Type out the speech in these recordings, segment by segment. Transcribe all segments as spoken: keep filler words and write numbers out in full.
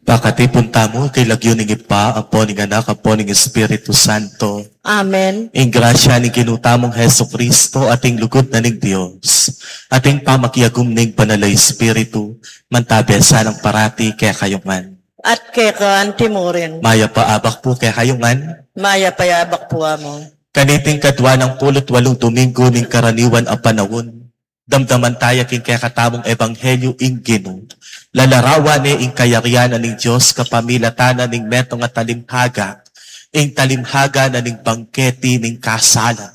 Pakatipun tamu king lagyu ning Ibpa, ampo ning Anak, ampo ning Espiritu Santo. Amen. Ing grasya ning Ginu tamung Jesucristo, at ing lugud na ning Dios, at ing pamakiagum ning Banal a Espiritu, mantabe sana nang parati kekayu ngan. At keka antimurin. Mayap a abak pu kekayu ngan. Mayap a abak pu, Among. Kaniting kadwa nang pulu't walung Domingo ning karaniwan a panaun, damdaman taya king kekatamung ebanghelyu ing Ginu. Lalarawan ne ing kayarian na ning Dios kapamilatan na ning metung a talimhaga, ing talimhaga na ning bangketi ning kasalan.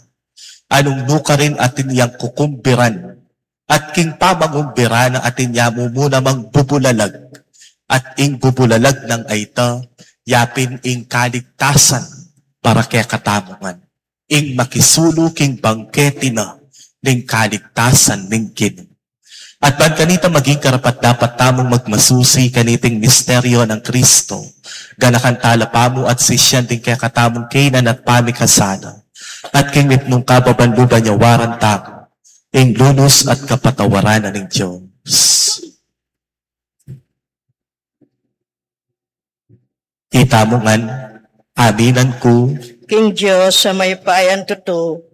Anung nukarin atin yang kukumbiran, at king pamangumbiran na atin ya mu muna mang bubulalag, at ing bubulalag nang ayta, yapin ing kaligtasan para kekatamu ngan. Ing makisulu king bangketi na ning kaligtasan ning Ginu. At ban kanita maging karapat-dapat tamung magmasusi kaniting misteryo nang Kristo, ganakan tala pamu at sisyan ding kekatamung kainan at pamikasala, at king mipnung kababan lub a nyawaran tamu ing lunus at kapatawaran na ning Dios. Itamu ngan, aminan ku king Dios a mayupayang tutu,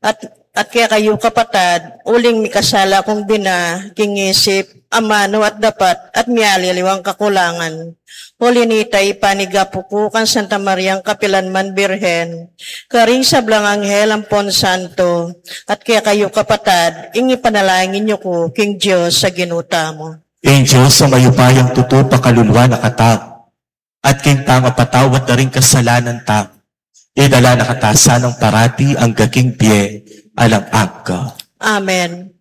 at, at kekayu kapatad, uling mikasala kung bina, king isip, amanu at dapat, at mialiliwang kakulangan. Uli nita ipanigapu ku kang Santa Mariang kapilan man Birhen, karing sablang anghel ampon santo, at kekayu kapatad, ing ipanalangin yu ku king Dios a Ginu tamu. Ing Dios a mayupayang tutu pakaluluan na katamu, at king pangapatawad da ring kasalanan tamu, idala na kata sanang parati angga king bie alang angga. Amen.